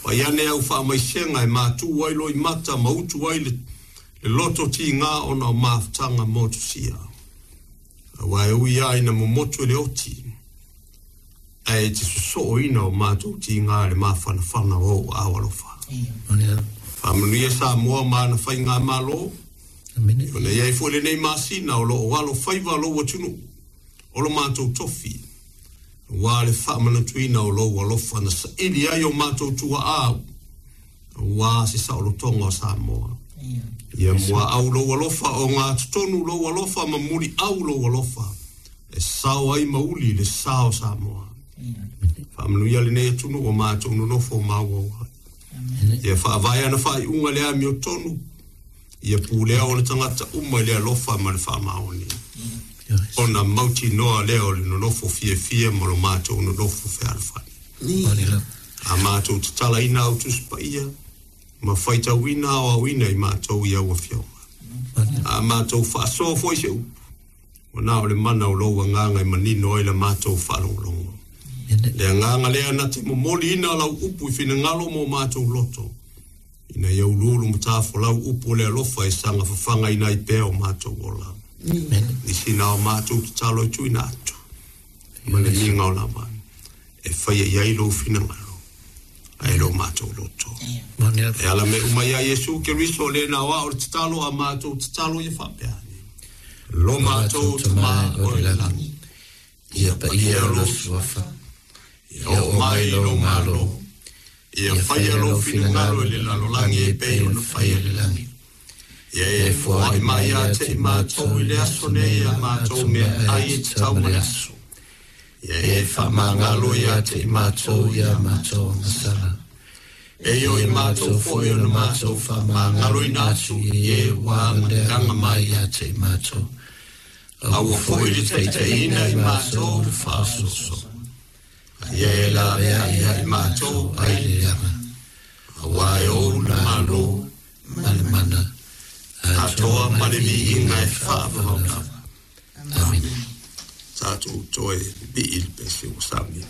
Fai ane au faamaisega e matu ai loimata ma utu ai le loto tiga ona o mafutaga motusia. Aua e ui lava ina momotu e le oti, ae e te sosooina o matou tiga i le mafanafana o ou aao alofa. Faamanuia Samoa ma ana faigamalo, ona i ai foi lenei masina o lo o alofaiva lou atunuu o lo matou tofi, aua le faamanatuina o lou alofa na saili ai o matou tuaa aua se saolotoga o Samoa. Ia muaau lou alofa o gatotonu lou alofa ma muliau lou alofa e sao ai ma uli le sa o Samoa. Faamanuia lenei atunuu o matou nonofo maauau ai. Ia faavae ana faaiuga le amiotonu, ia pulea ona tagata uma i le alofa ma le faamaoni. Ona mautinoa lea o le nonofo fiafia ma lo matou nonofo fealofani. A matou tatalaina au Tusi Paia ma faitauina aoaoina i matou i au afioga. A matou faasoa foi se upu, ua na o le mana o lou agaga e manino ai la matou faalogologo. Le agaga lea na te momoliina lau upu i finagalo mo matou loto, ina ia uluulu matafolau upu o le alofa e saga fafagaina ai pea o matou ola. Nisi na o matou tatalo e tuuina atu, ma le miga o lava e faia i ai lou finagalo ae lo matou loto. E ala me uma ia Iesu Keriso le na oa o le tatalo a matou tatalo ia faapea ane. Lo matou Tama o i le lagi, Ia paia lou suafa, ia oo mai lou Malo, ia faia lou finagalo i le lalolagi e pei ona faia i le lagi. Ia e foai mai ia te i matou i le aso nei a matou meaai e tatau ma le aso. Ia e faamagalo ia te i matou i a matou agasala. E o i matou foi ona matou faamagaloina atu i e ua agaleaga mai ia te i matou. Aua foi le taitaiina i matou i le faaosoosoga. Ia e laveai ia i matou ai le leaga. Aua e ou le Malo ma le mana, atoa ma le viiga e faavavau lava. Amene. Tatou toe vivii i le pese ua saunia.